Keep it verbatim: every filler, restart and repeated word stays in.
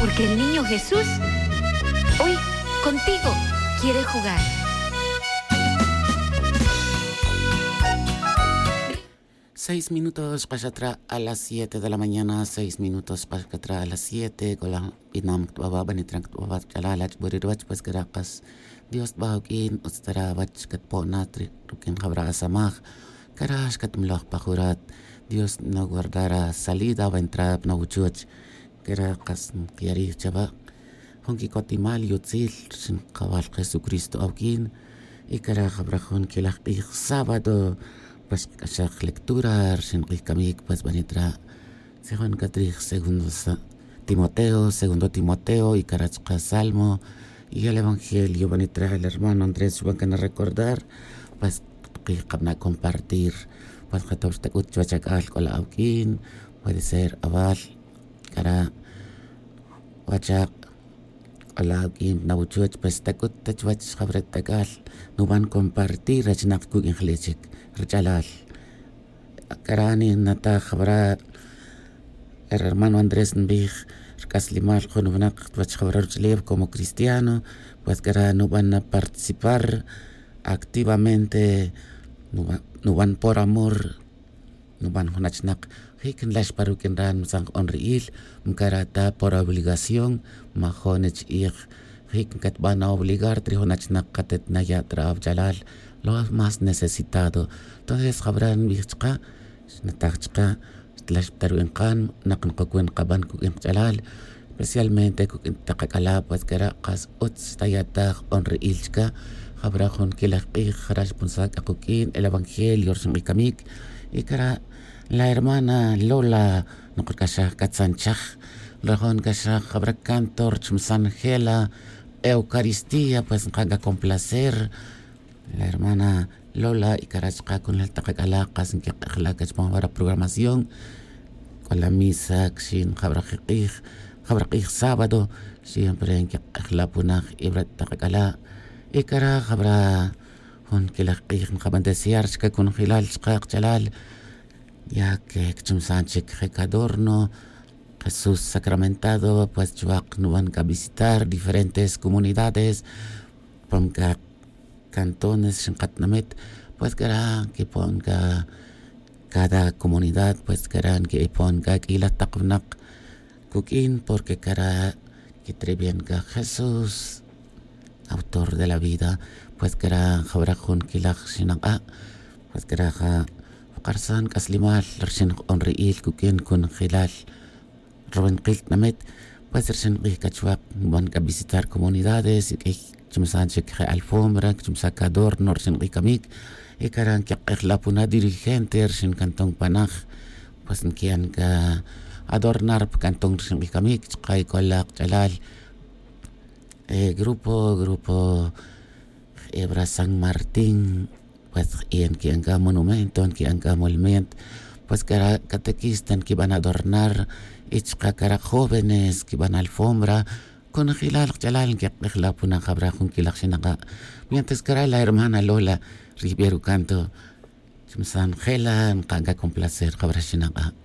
Porque el niño Jesús hoy contigo quiere jugar. Seis minutos xkaxatra a las siete de la mañana, seis minutos xkaxatra a las siete. Cola binam ctbaba banitran ctbaba ch'alal ach'buri ruwach pues cara' kas dios tba uq'uin utz tara wach catpo'na ruq'uin jabra asamaj. Cara' xcatmloj pa jurat. Dios no guardara salida va entrada pna wuchuch. Cara' kas nkiyarij chawa' jun quicotimal yutzil rxin kawal jesucristo awuquin. Y cara' jabra jun quilaj k'ij sábado pues xkac'axaj lectura rxin k'ij camic pues banitra. Tzijon catrij segundo timoteo segundo timoteo y cara' chka salmo. Y el evangelio banitra el hermano andrés xban cana recordar. Pues kij kabana' compartir. Pues jatol xtac'ut chuwech ac'al c'ola awuq'uin. Puede ser awal cara' wachak' c'ola awuq'uin nawuchuch pues tac'ut ta chuwech jawre' t'ac'al. Nuban compartir rech nak cuq'uin jle' chic rach'alal. Cara' ninataj jawra' hermano andrés nbij rc'aslimal jun winak chuwech jawra' ruch'ulef como cristiano. Pues cara' nuban na participar activamente nuban por amor. Nuban jun achnak jic nlax pa ruq'uin ra' nmsan jk'on ri'il. Mcara' ta por obligación majo' nich'ij jic ncatban obligar ta ri jun achnak katet naya' ta ra awach'alal lo más necesitado. Entonces jawra' nbij chka xnataj chka xtlax ta ruq'uin kan nak nkocuin nkaban cuq'uin kach'alal. Especialmente cuq'uin tak ak'ala' pues cara' kas utz xtaya'taj k'on ri'il chka. Jabra jun quilaj k'ij jara' xpunsa' c'a kuq'uin el evangelio rxin k'ij camic. Y cara' la hermana lola nokac'axaj c'a tzanchaj. Rajon ca'xaj jabra canto rchumsan jela eucaristía pues nka'n c'a complacer. La hermana lola y cara' chka conel tak ak'ala' kas nquik'ejla' c'a chupam jabra programación. C'o la misa cxin jabra k'ij jabra k'ij sábado siempre nquik'ejla' punaj y jabra tak ak'ala'. Y cara' jabra jun quilaj k'ij nkaban desear chka conjelal chka kach'alal. Ya que cchumsan chic je cadorno jesús sacramentado pues chuwak nuban c'a visitar diferentes comunidades. Pam c'a cantones rxin katinamit pues cara' nquipon c'a cada comunidad pues cara' nquipon c'a q'uila tak winak cuq'uin porque cara' quitrebian c'a jesús autor de la vida. Pues cara' jabra jun quilaj xinak'a' pues cara' ja karsan c'aslimal rxin jk'on ri'il cuq'uin conjelal ruwinakil tinamit. Pues rxin k'ij c'a chuwak nban c'a visitar comunidades y q'uiy cchumsan chic je alfombra cchumsan cadorno rxin k'ij camic. Y cara' nquik'ejla' puna dirigente rxin canton panaj. Pues nqui'an c'a adornar pa canton rxin k'ij camic chka y c'o la kach'alal grupo grupo jebra san martín. Pues y nqui'an c'a monumento nqui'an c'a molumento. Pues cara' catequista nquiban adornar y chka cara' jóvenes nquiban alfombra. Conjelal kach'alal nquik'ejla' puna jabra jun quilaj xinak'a'. Mientras cara' la hermana lola ri jbe rucanto chumsan jela nka'n c'a complacer jabra xinak'a'.